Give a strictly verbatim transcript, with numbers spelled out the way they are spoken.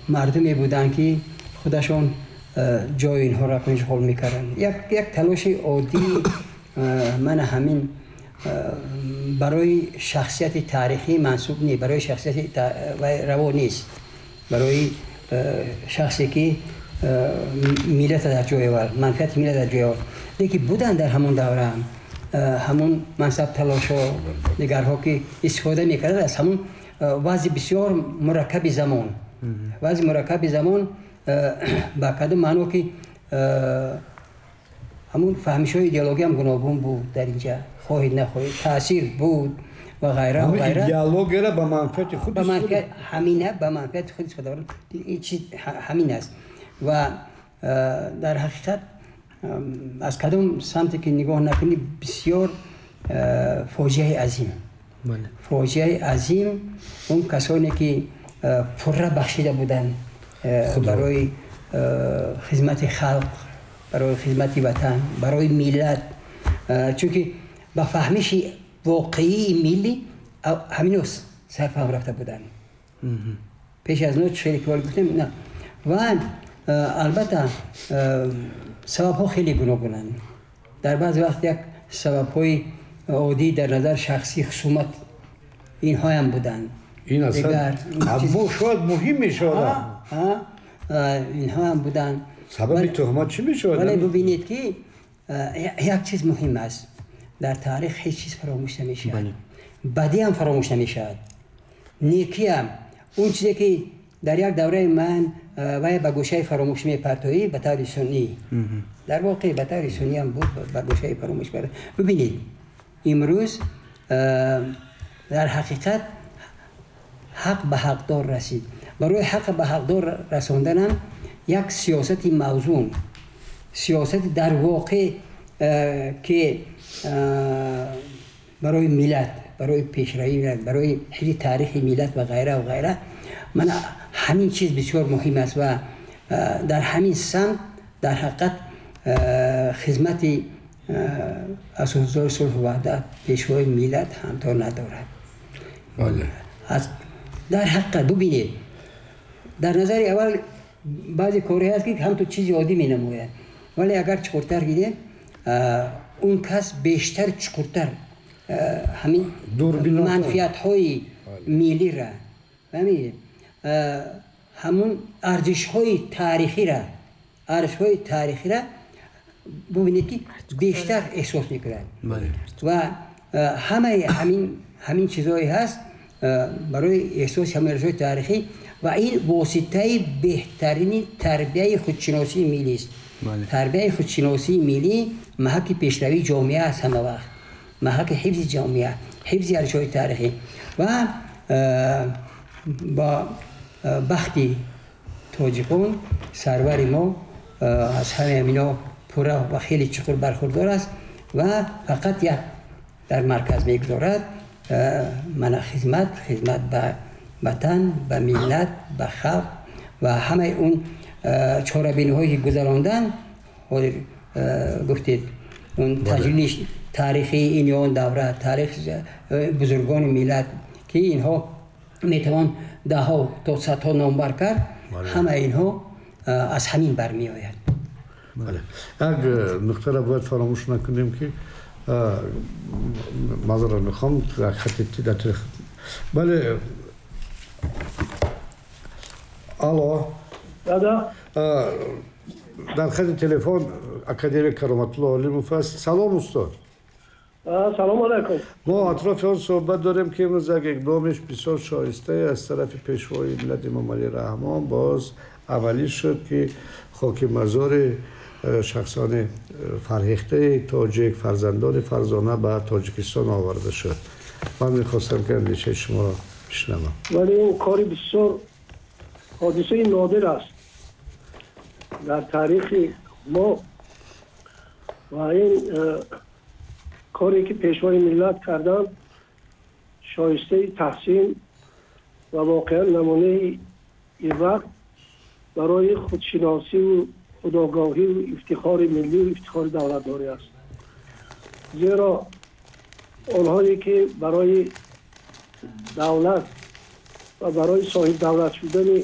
мардуме буданд, ки худашон ҷои инҳоро ишғол мекарданд. як як талоши оддӣ ман ҳамин барои шахсияти таърихӣ мансуб не, барои шахсияти раво нест, барои шахсе ки миллат дар ҷой овард, манфиати миллат дар ҷой овард. Лекин буданд дар ҳамон давра ҳамон мансаб талошҳо, дигарҳо, ки истифода мекарданд аз ҳамон вазъи бисёр мураккаби замон. Вазъи мураккаби замон ба кадом маъно, ки ҳамон фаҳмишҳои идеологӣ ҳам гуногун буд дар инҷа, хоҳед нахоҳед таъсир буд ва ғайра ва ғайра. Идеологияро ба манфиати худ ба манфиат, ҳамина ба манфиати худ истифода бурд. Ин чиз ҳамин аст ва дар ҳақиқат аз кадом самте ки нигоҳ накунӣ, бисёр фоҷиаи азим, фоҷиаи азим. Он касоне ки пурра бахшида буданд барои хизмати халқ, барои хизмати ватан, барои миллат, чунки ба фаҳмиши воқеии миллӣ ҳамино сарфаҳм рафта буданд пеш аз но хеле ки гуфтем на. Ва албатта сабабҳо хеле гуногунанд. Дар баъзе вақт як сабабҳои оддӣ дар назар шахсӣ, хусумат, инҳоям буданд. Ин аслан шояд муҳим мешавад. Инҳоам буданд. Сабаби туҳмат чӣ мешавад? Вале бубинед, ки як чиз муҳим аст: дар таърих ҳеҷ чиз фаромӯш намешавад. Бадӣ ҳам фаромӯш намешавад, некиам. Он чизе ки дар як давраи ман вай ба гӯшаи фаромӯш мепартоӣ ба таври сунъӣ, дар воқеъ ба таври сунъӣ ҳам буд, ба гӯшаи фаромӯш. Бубинед, имрӯз дар ҳақиқат ҳақ ба ҳақдор расид. Барои ҳақ ба ҳақдор расонданам як сиёсати мавзун, сиёсати дар воқеъ ки барои миллат, барои пешравии миллат, барои ҳифзи таърихи миллат ва ғайра ва ғайра, ман ҳамин чиз бисёр муҳим аст ва дар ҳамин самт дар ҳақиқат хизмати асосгузори сулҳу ваҳдат, пешвои миллат ҳамто надорад. Дар ҳақиқат бубинед, дар назари аввал баъзе корҳое ҳаст, ки ҳамту чизи оддӣ менамояд, вале агар чуқуртар гирем, он кас бештар чуқуртар ҳамин манфиатҳои миллира, фаҳмидед, ҳамун арзишҳои таърихира, арзишҳои таърихира бубинед, ки бештар эҳсос мекунад. Ва ҳамаи ҳамин ҳамин чизҳое ҳаст барои эҳсоси ҳамин арзишҳои таърихӣ, ва ин воситаи беҳтарини тарбияи худшиносии миллист. Тарбияи худшиносии миллӣ маҳаки пешравии ҷомеа аст, ҳама вақт маҳаки ҳифзи ҷомеа, ҳифзи арзишҳои таърихӣ. Ва бо бахти тоҷикон сарвари мо аз ҳамаи ҳамино пурра ва хеле чуқур бархурдор аст ва фақат як дар марказ мегузорад мана хизмат, хизмат ба ватан, ба миллат, ба халқ. Ва ҳамаи он чорабиниҳое ки гузаронданд, ҳозир гуфтед, он таҷлили таърихии ин ё он давра, таърих бузургони миллат, ки инҳо метавон даҳҳо то садҳо номбар кард, ҳамаи инҳо аз ҳамин бармеояд. Як нуқтаро бояд фаромӯш накунем, ки маъзарат мехоҳам, хати. Бале, алло. Да. Дар хати телефон академик Кароматулло Олимов аст. Салом, устод. Салом алайкум. Мо атрофи он суҳбат дорем, ки имрӯз як иқдомиш бисёр шоистае аз тарафи пешвои миллат Эмомалӣ Раҳмон боз амалӣ шуд, ки хоки мазори шахсони фарҳехтаи тоҷик, фарзандони фарзона ба Тоҷикистон оварда шуд. Ман мехостам, ки андешаи шуморо бишнавам. Вале ин кори бисёр ҳодисаи нодир аст дар таърихи мо ва ин коре ки пешвои миллат карданд, шоистаи таҳсин ва воқеан намунаи ибрат барои худшиносиву худогоҳиву ифтихори миллию ифтихори давлатдорӣ аст, зеро онҳое ки барои давлат ва барои соҳибдавлат шудани